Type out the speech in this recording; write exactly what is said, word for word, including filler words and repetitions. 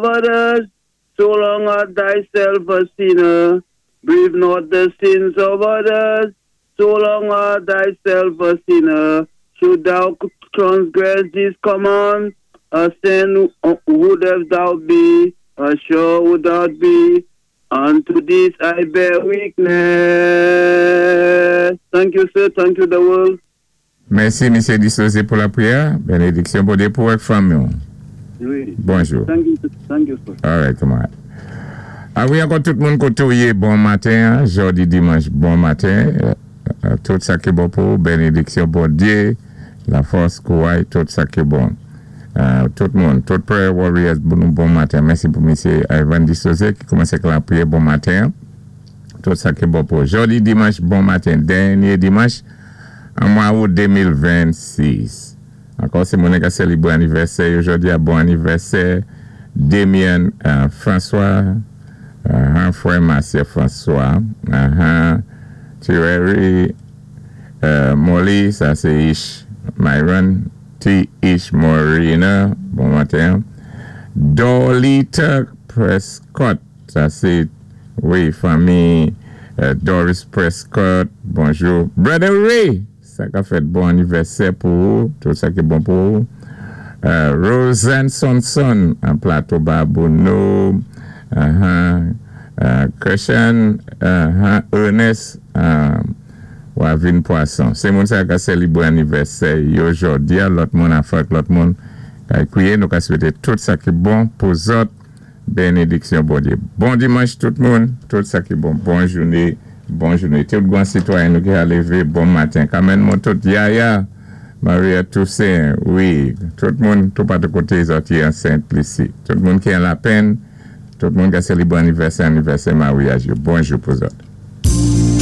others, so long art thyself a sinner. Grieve not the sins of others, so long art thyself a sinner. Should thou transgress this command, a saint wouldst thou be, assured would thou be. Unto this I bear witness. Thank you, sir. Thank you, the world. Mèsi, Misyé Disosé, pou lapriyè. Bénédiksyon Bondyé pou avèk fanmi. Wi. Bonjou. Thank you, thank you, sir. All right, come on. A wi, ankò tout moun koté ou yé, bon maten, en? Jòdi dimanch, bon maten. Euh, tout sa ki bon pou, bénédiksyon Bondyé, lafòs, kouway, tout sa ki bon. Euh, tout moun, tout prayer warriors, bon, bon maten. Mèsi pou Misyé Ivan Disosé ki koumansé avèk lapriyè, bon maten. Tout sa ki bon pou. Jòdi dimanch, bon maten. Dènyé dimanch, an mwa out de mil vennsis. Ankò, sé moun ki sélébwé anivèsè. Jòdi a bon anivèsè. Damien euh, François, euh, frè Marcia François, uh, Thierry euh, Molly, sa sé Ish Myron, T. Ish Morina, bon maten. Dolita Prescott, sa sé, wi, fanmi euh, Doris Prescott, bonjou. Brother Ray, sa ka fèt bon anivèsè pou ou, tout sa ki bon pou ou. Euh, Roseanne Sonson, an Plato Babouno, uh-huh, uh, Christian, uh-huh, Ernest, uh, Wavin Poisson. Sé moun sa ka sélébwé anivèsè yo jòdi a, lòt moun a fèk lòt moun ka kwiyé, nou ka swété tout sa ki bon pou zòt, bénédiksyon Bondyé. Bon dimanch tout moun, tout sa ki bon, bon jouné, bon jouné. Tout gwan sitwayen nou ki a lévé, bon maten. Kamèn moun tout Yaya, Maria Toussaint, wi, tout moun, tout patou koté zòt yé an Sent Lisi. Tout moun ki an lapèn, tout moun ki a sélébwé anivèsè, anivèsè maryaj yo. Bonjou pou zòt.